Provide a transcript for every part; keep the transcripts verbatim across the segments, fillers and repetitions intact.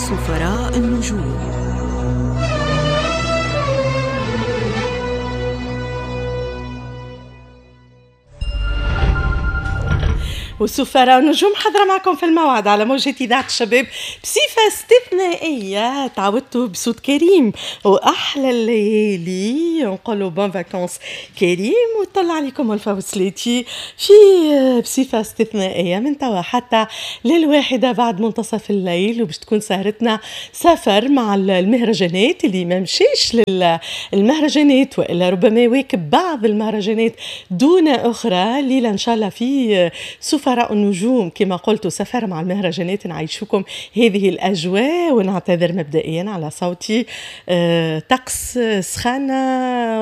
سفراء النجوم. وسفراء النجوم حاضرة معكم في الموعد على موجة إذاعة الشباب بصفة استثنائية. تعودتوا بصوت كريم وأحلى الليالي، نقولوا bonnes vacances كريم، وطلع عليكم ألفا وسليتي في بصفة استثنائية من توا حتى للواحدة بعد منتصف الليل، وباش تكون سهرتنا سفر مع المهرجانات. اللي ما مشيش للمهرجانات وإلا ربما واكب بعض المهرجانات دون أخرى، ليلة إن شاء الله في سفر سفراء النجوم كما قلت، سفر مع المهرجانات نعيشكم هذه الأجواء. ونعتذر مبدئيا على صوتي، أه، طقس سخانة،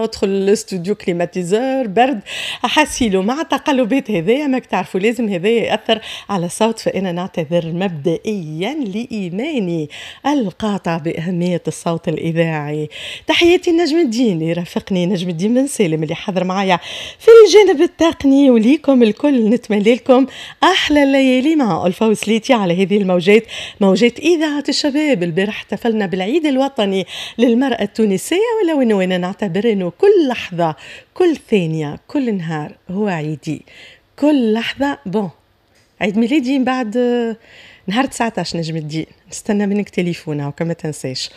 ادخل الاستوديو climatiseur، برد، حاسيلو مع التقلبات هذايا ماك تعرفوا لازم هذايا يأثر على الصوت، فأنا نعتذر مبدئيا لإيماني القاطع بأهمية الصوت الإذاعي. تحياتي نجم الدين اللي رافقني، نجم الدين بن سالم اللي حضر معايا في الجانب التقني، وليكم الكل نتمنى لكم أحلى الليالي مع ألفا وسليتي على هذه الموجات، موجات إذاعة الشباب. البارح احتفلنا بالعيد الوطني للمرأة التونسية، ولو أنه أنا نعتبر أنه كل لحظة، كل ثانية، كل نهار هو عيدي، كل لحظة. bon عيد ميلادي من بعد نهار تسعطاش نجم الدين، نستنى منك تليفون وكما تنساش.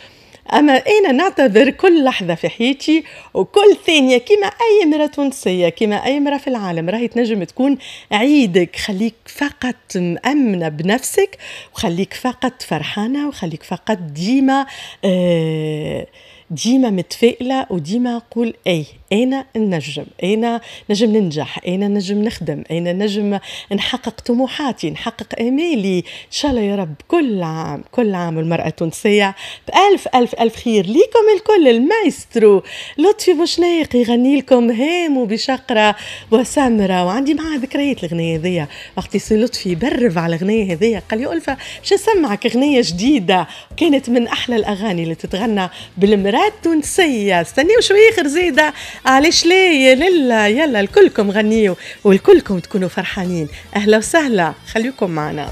أما أنا نعتبر كل لحظة في حياتي وكل ثانية كما أي امرأة تونسية، كما أي امرأة في العالم، راهي تنجم تكون عيدك. خليك فقط مأمنة بنفسك، وخليك فقط فرحانة، وخليك فقط ديما آه ديما متفائلة، وديما قول أي أنا نجم، أنا نجم ننجح، أنا نجم نخدم، أنا نجم نحقق طموحاتي، نحقق آمالي إن شاء الله يا رب. كل عام، كل عام المرأة التونسية بألف ألف ألف خير. ليكم الكل المايسترو لطفي بوشناق يغني لكم هام وبشقرة وسمرة، وعندي معاه ذكريات الغنية هذيا. وقت سي لطفي برف على الغنية هذيا قال لي ألفا باش نسمعك غنية جديدة، كانت من أحلى الأغاني اللي تتغنى بالمرأة التونسية. استنيو شوية آخر زيادة، علاش لا يا للا، يلا الكلكم غنيوا والكلكم تكونوا فرحانين. أهلا وسهلا، خليكم معنا.